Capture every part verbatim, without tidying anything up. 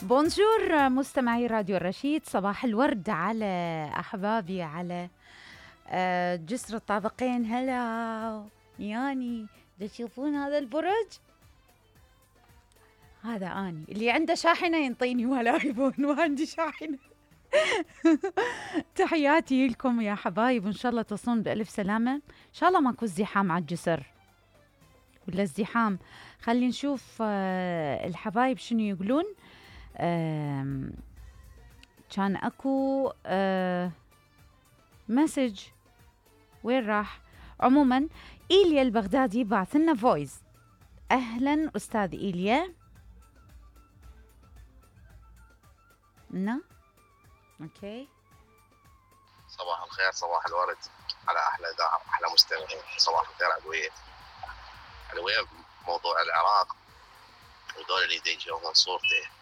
بونجور مستمعي راديو الرشيد، صباح الورد على أحبابي على آه، جسر الطابقين. هلا ياني، تشوفون هذا البرج؟ هذا أني اللي عنده شاحنة ينطيني ولا ايفون، وعندي شاحنة. تحياتي لكم يا حبايب، وإن شاء الله تصون بألف سلامة. إن شاء الله ماكو ازدحام على الجسر ولا ازدحام. خلي نشوف آه، الحبايب شنو يقولون. آه، كان اكو آه مسج، وين راح؟ عموما إيليا البغدادي بعث لنا فويس. اهلا استاذ إيليا. نا اوكي. صباح الخير، صباح الورد على احلى داعم، احلى مستمعين. صباح الخير علوية. علوية موضوع العراق ودول اللي يجون صورته،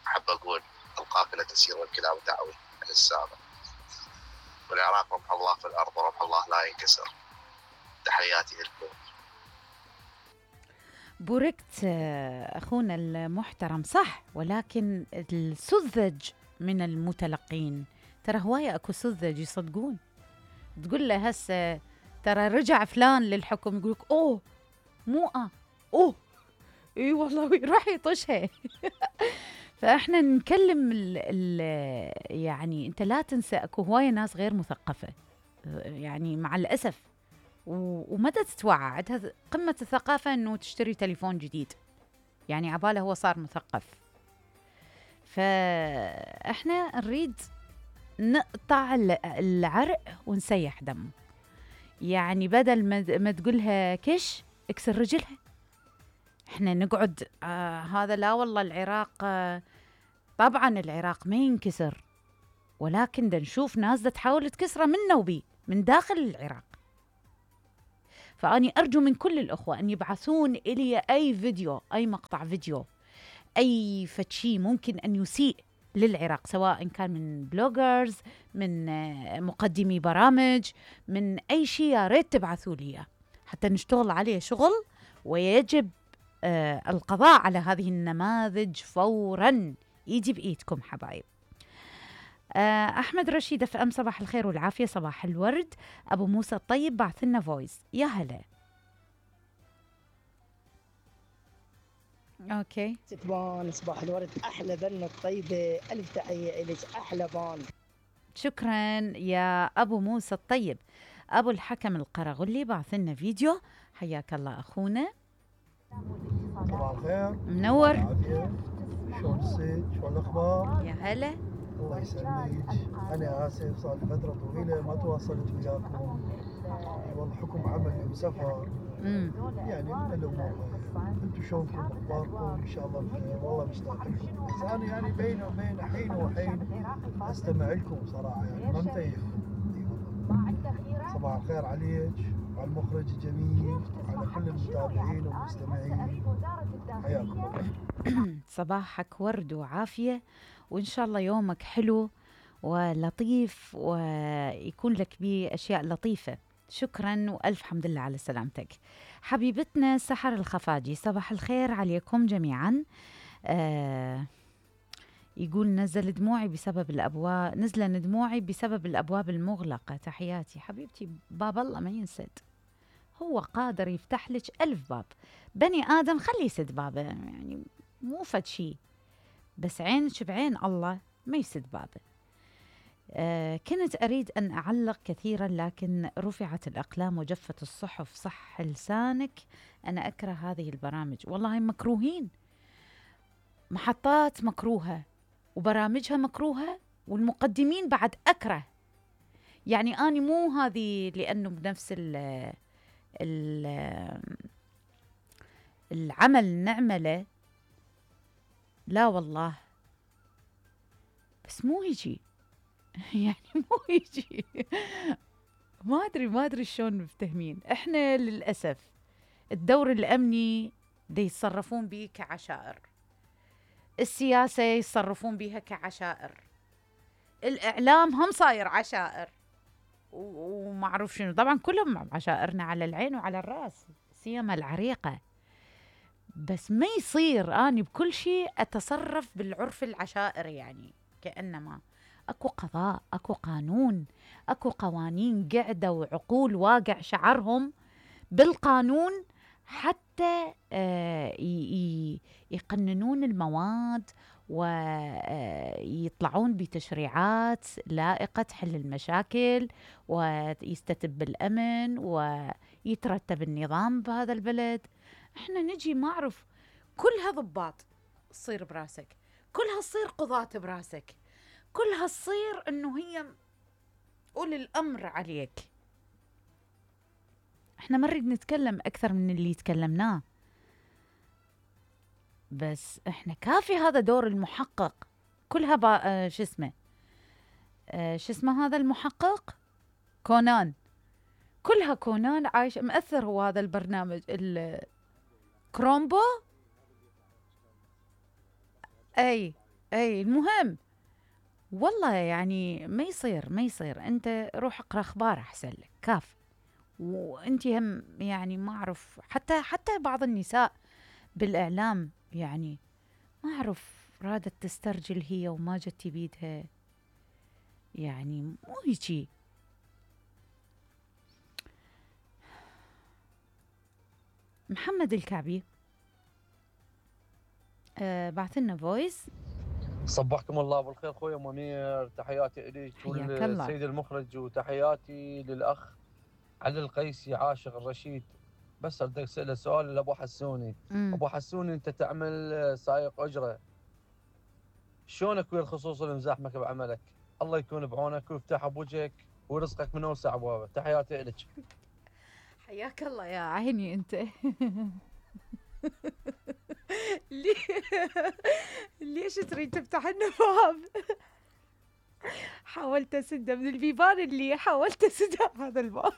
احب اقول القافله تسير والكلاب تعوي على السابق، والعراق رمح الله في الارض ورمح الله لا ينكسر. تحياتي لكم. بوركت اخونا المحترم، صح، ولكن السذج من المتلقين، ترى هوايه اكو سذج يصدقون. تقول له هسه ترى رجع فلان للحكم، يقولك اوه مو اه اوه اي والله راح يطشها. فاحنا نكلم ال ال يعني انت لا تنسى اكو هوايه ناس غير مثقفه، يعني مع الاسف، ومتى تتوعى عندها قمه الثقافه انه تشتري تليفون جديد، يعني عباله هو صار مثقف. فاحنا نريد نقطع العرق ونسيح دم، يعني بدل ما تقولها كش اكسر رجلها. احنا نقعد آه هذا لا والله العراق آه طبعا العراق ما ينكسر، ولكن دا نشوف ناس دا تحاول تكسره من نوبي من داخل العراق. فأني أرجو من كل الأخوة أن يبعثون إلي أي فيديو، أي مقطع فيديو، أي فتشي ممكن أن يسيء للعراق، سواء كان من بلوجرز، من آه مقدمي برامج، من أي شيء، يا ريت تبعثوا لي حتى نشتغل عليه شغل. ويجب آه القضاء على هذه النماذج فوراً، يجي بإيدكم حبايب. آه أحمد رشيد اف ام، صباح الخير والعافية، صباح الورد. أبو موسى الطيب بعث لنا فويس. يا هلا. أوكي. ستبان صباح الورد، أحلى بنة الطيبة، ألف تحية إليك، أحلى بان. شكراً يا أبو موسى الطيب. أبو الحكم القرغلي بعث لنا فيديو. حياك الله أخونا. صباح الخير، منور. شلون الصيد؟ شلون الأخبار؟ يا هلا. الله يسلمك. أنا آسف صار فترة طويلة ما تواصلت وياكم، والله حكم عملي وسفر امم يعني من الأمور. أنتم شلونكم؟ أخباركم؟ إن شاء الله بخير. والله مشتاق لكم، بس أنا يعني بين وبين حين وحين أستمع لكم صراحة، يعني ما متيفكم. صباح الخير عليك وعلى المخرج الجميل وعلى كل المتابعين والمستمعين، حياكم الله. صباحك ورد وعافية، وإن شاء الله يومك حلو ولطيف ويكون لك به أشياء لطيفة. شكرا وألف حمد لله على سلامتك. حبيبتنا سحر الخفاجي، صباح الخير عليكم جميعا. آه يقول نزل دموعي بسبب الأبواب، نزل دموعي بسبب الأبواب المغلقة. تحياتي حبيبتي، باب الله ما ينسد، هو قادر يفتح لك ألف باب. بني آدم خليه يسد بابه، يعني مو فد شي، بس عينك بعين الله ما يسد بابه. آه كنت أريد أن أعلق كثيرا، لكن رفعت الأقلام وجفت الصحف. صح لسانك، أنا أكره هذه البرامج، والله مكروهين. محطات مكروهة وبرامجها مكروهة والمقدمين بعد أكره. يعني أنا مو هذه لأنه بنفس ال ال العمل نعمله، لا والله، بس مو يجي. يعني مو يجي. ما أدري ما أدري شلون مفتهمين. إحنا للأسف الدور الأمني دي يتصرفون به كعشائر، السياسة يتصرفون بها كعشائر، الإعلام هم صاير عشائر، ومعروف شنو. طبعا كلهم عشائرنا على العين وعلى الرأس، سيما العريقة، بس ما يصير اني بكل شيء اتصرف بالعرف العشائري، يعني كانما اكو قضاء، اكو قانون، اكو قوانين قاعده وعقول واقع شعرهم بالقانون حتى آه يقننون المواد ويطلعون بتشريعات لائقة تحل المشاكل ويستتب الأمن ويترتب النظام بهذا البلد. احنا نجي ما اعرف كلها ضباط تصير براسك، كلها تصير قضاة براسك، كلها تصير انه هي أولي الأمر عليك. احنا ما نريد نتكلم أكثر من اللي تكلمناه، بس احنا كافي هذا دور المحقق. كلها با آه شو اسمه آه شو اسمه هذا المحقق كونان، كلها كونان عايش مأثر. هو هذا البرنامج الكرومبو، اي اي المهم والله يعني ما يصير ما يصير. انت روح اقرا اخبار احسن لك كاف. وانت هم يعني ما اعرف حتى حتى بعض النساء بالاعلام يعني ما اعرف رادت تسترجل هي وما جت بيدها، يعني مو هيجي. محمد الكعبي آه بعث لنا فويس. صبحكم الله بالخير خويا منير، تحياتي لك والسيد المخرج، وتحياتي للاخ علي القيسي عاشق الرشيد. بس بدي اساله سؤال لابو حسوني. مم. ابو حسوني انت تعمل سائق اجره، شلونك ويا الخصوص اللي مزاحمك بعملك؟ الله يكون بعونك ويفتح بوجهك ورزقك من اوسع ابوابه. تحياتي لك. حياك الله يا عيني انت. ليش تريد تفتح لنا باب؟ حاولت اسده من البيبان اللي حاولت اسده هذا الباب.